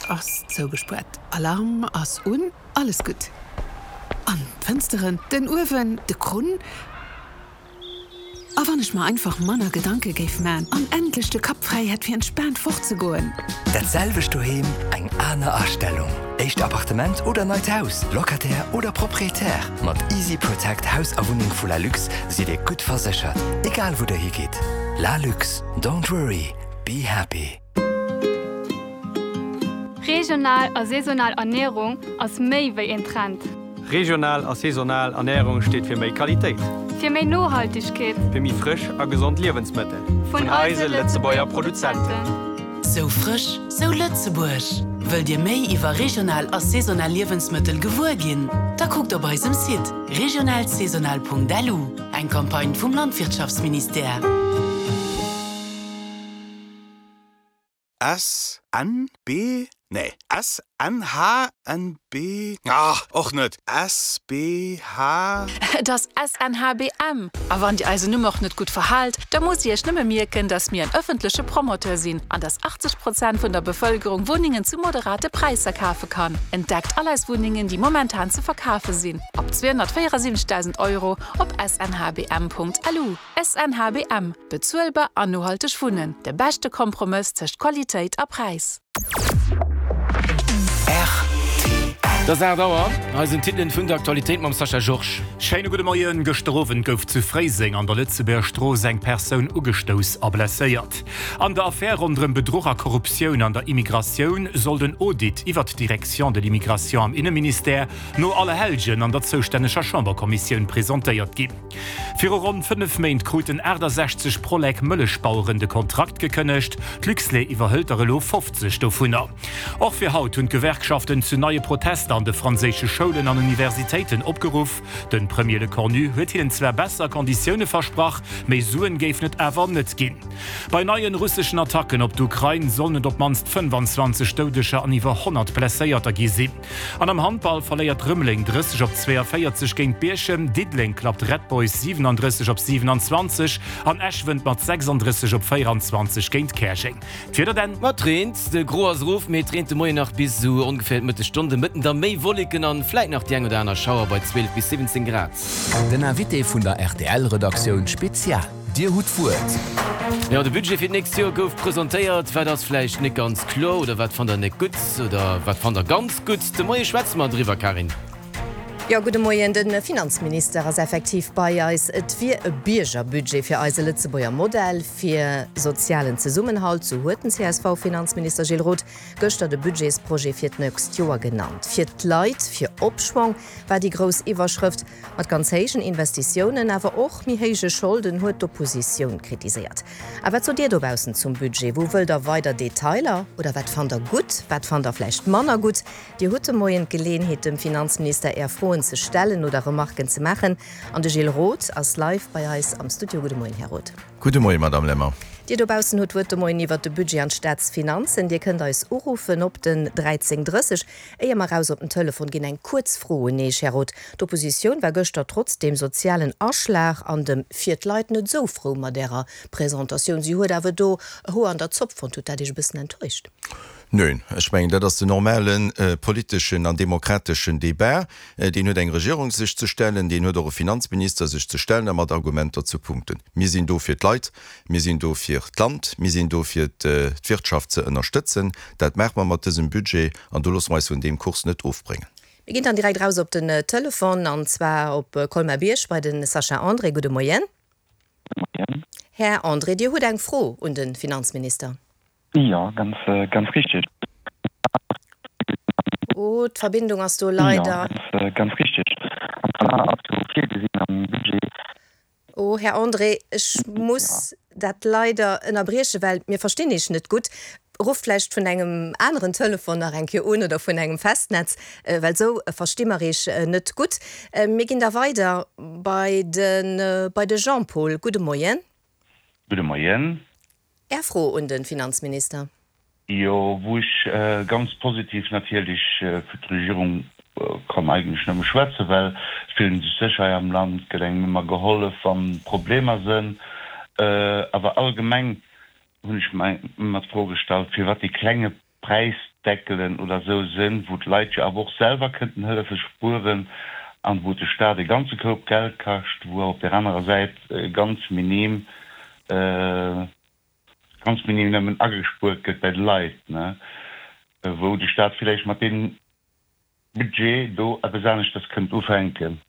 ass zougespuert, Alarm ass un, alles gutt. An d'Fënsteren, den Uewen, de Krunn. A wann ech mer einfach manner Gedanke géif man an endlech de Kapp fräi hätt fir entspaant fort ze goen. Dat selwecht doheem, eng aner Astellung. Éischt Appartement oder neit Haus, Locataire oder Proprietär, mat Easy Protect Haus a Wunneng vu Lalux sidd Dir gutt verséchert, egal wou der higitt. Lalux, don't worry, be happy. Regional a saisonal Ernierung ass méi wéi een Trend. Regional a saisonal Ernärung steet fir méi Qualitéit. Fir méi Nohaltegkeet. Fir méi frësch a gesond Liewensmëttel. Vun eise Lëtzebuerger Produzenten. Sou frësch, sou Lëtzebuerg! Wëllt Dir méi iwwer regional a saisonal Liewensmëttel gewuer ginn? Da kuckt op eisem Site regionalsaisonal.lu, eng Campagne vum Landwirtschaftsministère. S, N, B, nee, S, N, H, N, B, ah, och net, S, B, H. Et ass S, N, H, B, M. A wann Dir eisen Numm och net gutt verhaalt, da musst Dir Iech nëmme mierken, dass mir en ëffentleche Promoteur sinn an dass 80 Prozent vun der Bevëlkerung Wunnengen zu moderate Präisser kafe kann. Entdeckt all eis Wunnengen, déi momentan ze verkafe sinn, ab 274.000 Euro op snhbm.lu. SNHBM, Bezuelbar an nohalteg Wunnen, de beschte Kompromëss tëscht Qualitéit a Präis. Et ass 8 Auer, hei sinn d'Titelen vun der Aktualitéit mam Sascha Georges. Schéine gudde Moien. Gëschter Owend gouf zu Fréiseng an der Lëtzebuerger Strooss eng Persoun ugestouss a blesséiert. An der Affär ronderëm Bedruch a Korruptioun an der Immigratioun soll den Audit iwwert d'Direction de l'immigration am Inneministère no Allerhellgen an der zoustänneger Chamberkommissioun presentéiert ginn. Viru ronn 5 Méint kruten 68 Prolec Mëllechbaueren de Kontrakt gekënnegt. D'Luxlait iwwerhëlt der elo 50 dovunner. Och fir haut hunn d'Gewerkschaften zu neie Protester an de franséische Schoulen an Universitéiten opgeruff. De Premier Lecornu huet hinnen zwar besser Konditioune versprach, méi Suen géifen et awer net ginn. Bei neien russeschen Attacken op d'Ukrain sollen et op d'mannst 25 Doudeger an iwwer 100 Blesséierter gi sinn. An am Handball verléiert Rëmeleng 30 op 42 géint Bierchem, Diddeleng klappt Red Boys 37 op 27 an Esch wënnt mat 36 op 24 géint Käerjeng. D'Wieder denn? Ma et reent, de Gros ass erof, mee et reent de Moien nach bis esou ongeféier d'Mëttesstonn. De Mëtten da méi Wolleken an vläit nach déi eng oder aner Schauer bei 12 bis 17 Grad. Den Invité vun der RTL-Redaktioun Spezial. Dir hutt d'Wuert. Jo, de Budget fir d'nächst Joer gouf presentéiert. Wat ass vläicht net ganz kloer oder wat fannt der net gutt oder wat fannt der ganz gutt? De Moie schwätze mer driwwer, Karin. Jo, gudde Moien. De Finanzminister ass effektiv bei eis. Et wier e Biergerbudget fir eise Lëtzebuerger Modell fir sozialen Zesummenhalt, sou huet den CSV-Finanzminister Gilles Roth gëschter de Budgetsprojet fir d'nächst Joer genannt. Fir d'Leit, fir Opschwong war déi grouss Iwwerschrëft. Mat ganz héijen Investitiounen, awer och méi héije Scholden, huet d'Oppositioun kritiséiert. A wat sot Dir dobaussen zum Budget? Wou wëllt der weider Detailer? Oder wat fannt der gutt, wat fannt der vläicht manner gutt? Dir hutt de Moien d'Geleeënheet, dem Finanzminister Är Froen ze stellen oder Remarken ze maachen. An de Gilles Roth ass live bei eis am Studio. Gudde Moien, Här Roth. Gudde Moien, Madame Lemmer. Dir dobaussen hutt d'Wuert de Moien iwwert de Budget an d'Staatsfinanzen. Dir kënnt eis uruffen op den 13 30. Éier mer raus op den Telefon ginn, eng kuerz Fro un Iech, Här Roth. D'Oppositioun war gëschter trotz deem sozialen Aschlag an dem fir d'Leit net esou frou mat Ärer Presentatioun. Si huet awer do e Hoer an der Zopp fonnt. Huet dat Iech e bëssen enttäuscht? Neen, ech mengen, dat ass den normale politeschen an demokrateschen Débat. Deen huet eng Regierung sech ze stellen, deen huet och e Finanzminister sech ze stellen a mat Argumenter ze punkten. Mir sinn do fir d'Leit, Mir sinn do fir d'Land, mir sinn do fir d'Wirtschaft ze ënnerstëtzen. Dat maache mer mat dësem Budget an do loosse mer eis vun deem Kurs net ofbréngen. Mir ginn dann direkt raus op den Telefon, an zwar op Colmar-Bierg bei de Sascha André. Gudde Moien. Gudde Moien. Här André, Dir hutt eng Fro un de Finanzminister. Jo, ganz, ganz richteg. Oh, d'Verbindung ass do leider. Jo, ganz, ganz richteg. An zwar ass jo virgesinn am Budget. Oh, Här André, ech muss dat leider ënnerbriechen, well mir verstinn Iech net gutt. Rufft vläicht vun engem aneren Telefon nach eng Kéier un oder vun engem Festnetz, well esou versti mer Iech net gutt. Mir ginn da weider bei de bei de Jean-Paul. Gudde Moien. Gudde Moien. Är Fro un de Finanzminister. Jo, wou ech ganz positiv natierlech fir d'Regierung kann eigentlech nëmme schwätzen, well et fillt een sech sécher hei am Land, et gëtt engem ëmmer gehollef, wa Problemer sënn. Awer allgemeng hunn ech mer ëmmer d'Fro gestallt, firwat dee klenge Präis. Deckelen oder esou sinn, wou d'Leit jo awer och selwer kënnten hëllefe spueren an wou de Staat e ganze Koup Geld kascht, wou awer op där anerer Säit ganz minim, ganz minim nëmmen agespuert gëtt bei de Leit, ne, wou de Staat villäicht mat deem Budget do eppes aneschters kënnt ufänken.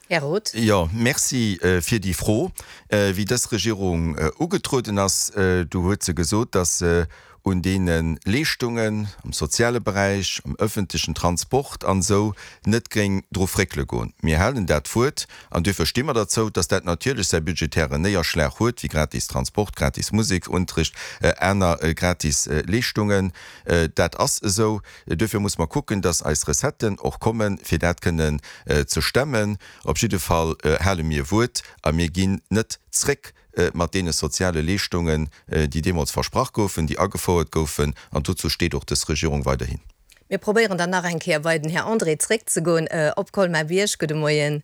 Här Roth. Jo, Merci fir déi Fro. Wéi dës Regierung ugetrueden ass, du huet se gesot, datt se un deene Leeschtungen am soziale Beräich, am öffentlechen Transport an esou net géing dru fréckele goen. Mir halen dat Wuert an duerfir sti mer derzou, datt dat natierlech säi budgetären Néierschlag huet, wéi gratis Transport, gratis Musekunterricht, aner gratis Leeschtungen. Dat ass esou. Duerfir muss mer kucken, dass eis Recetten och kommen, fir dat kënnen ze stemmen. Op jidde Fall hale mir Wuert a mir ginn net zréck mat deene soziale Leeschtungen, déi deemools versprach goufen, déi agefouert goufen. An dozou steet och dës Regierung weiderhin. Mir probéieren dann nach eng Kéier bei den Här André zréckzegoen op Colmar-Bierg. Gudde Moien.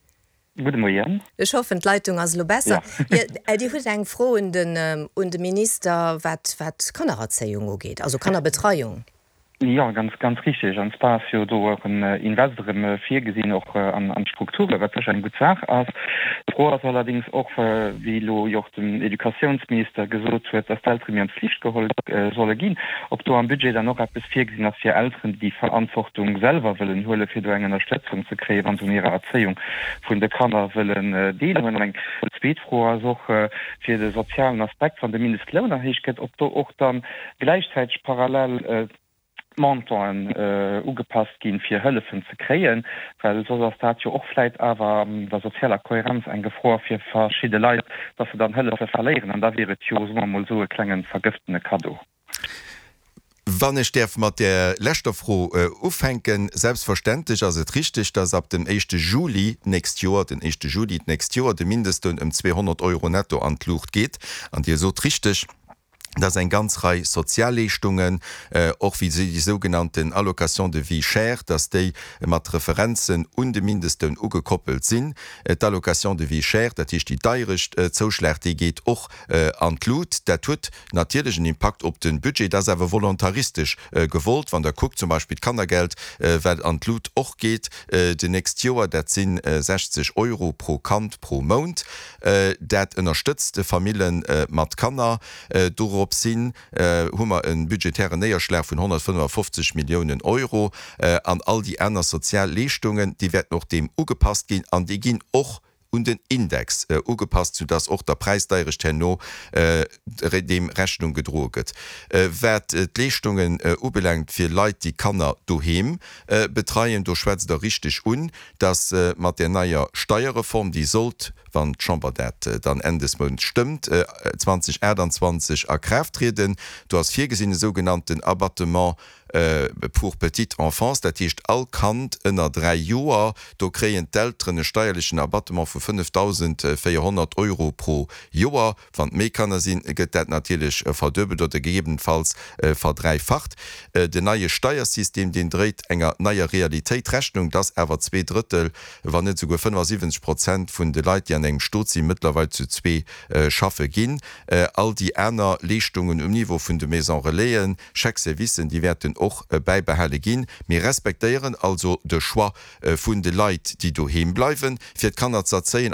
Gudde Moien. Ech hoffen, d'Leitung ass elo besser. Jo, Dir hutt eng Fro un den, un de Minister, wat, wat d'Kannererzéiung ugeet, also Kannerbetreiung. Jo, ganz, ganz richtig. An zwar ass jo do och en Invest erëm virgesinn, och an, an d'Strukturen, wat sécher eng gutt Saach ass. D'Fro ass allerdéngs och, wéi elo jo och den Educatiounsminister gesot huet, dass d'Eltere méi an d'Flicht geholl solle ginn, ob do am Budget dann och eppes virgesinn ass fir Elteren, déi déi Verantwortung selwer wëllen huelen, fir do eng Ënnerstëtzung ze kréien, wa se un hirer Erzéiung vun de Kanner wëllen deelhuelen. An eng zweet Fro ass och fir de sozialen Aspekt, wann de Mindestloun erhéicht gëtt, ob do och da gläichzäiteg parallel d'Montanten ugepasst ginn, fir Hëllefen ze kréien, well soss ass dat jo och vläit awer an der sozialer Kohärenz eng Gefor fir verschidde Leit, dass se dann Hëllefe verléieren. An da wier et jo, soe mer emol esou, e klenge vergëftene Kaddo. Wann ech däerf mat där leschter Fro ufänken, Selbstverständlech ass et richtig, dass ab dem éischte Juli d'nächst Joer, den éischte Juli d'nächst Joer, de Mindestloun ëm 200 Euro netto an d'Luucht geet. An Dir sot richtig, dass eng ganz Rei Sozialleeschtungen, och wéi déi sougenannten Allocation de vie chère, dass déi mat Referenzen un de Mindestloun ugekoppelt sinn. D'Allocation de vie chère, dat heescht déi deierecht Zouschlag, déi geet och an d'Lut. Dat huet natierlech en Impakt op de Budget, dat ass awer volontaristesch gewollt. Wann Der kuckt zum Beispill d'Kannergeld, wat an d'Lut och geet d'nächst Joer, dat si 60 Euro pro Kand pro Mount. Dat ënnerstëtzt de Famille mat Kanner. Doropshin hu mer e budgetären Néierschlag vun 155 Milliounen Euro. An all déi aner sozial Leeschtungen, déi wäerten och deem ugepasst ginn an déi ginn och un den Index ugepasst, soudass och der Präisdeierecht herno deem Rechnung gedroe gëtt. Wat d'Leeschtungen ubelaangt fir Leit, déi Kanner doheem betreien, do schwätzt Der richteg un, dass mat där neier Steierreform, déi sollt, wann d'Chamber dat dann Enn des Mounts stëmmt, 2028 a Kraaft trieden, do ass virgesinn e sougenannten Abattement pour petite enfance, dat heescht all Kand ënner 3 Joer, do kréien d'Elteren e steierlechen Abattement vu 5.400 Euro pro Joer. Wann et méi Kanner sinn, gëtt dat natierlech verduebelt oder gegebenenfalls verdräifacht. Den neie Steiersystem, deen dréit enger neier Realitéit Rechnung, dass awer zweeDrëttel, wann net esouguer 75 Prozent vun de Leit, déi an engem Stot sinn, mëttlerweil zu zwee schaffe ginn. All déi aner Leeschtungen um Niveau vun de Maisons Relaisen, Chèque-servicen, déi wäerten och bäibehale ginn. Mir respektéieren also de Choix vun de Leit, déi doheem bleiwen, fir d'Kanner z'erzéien.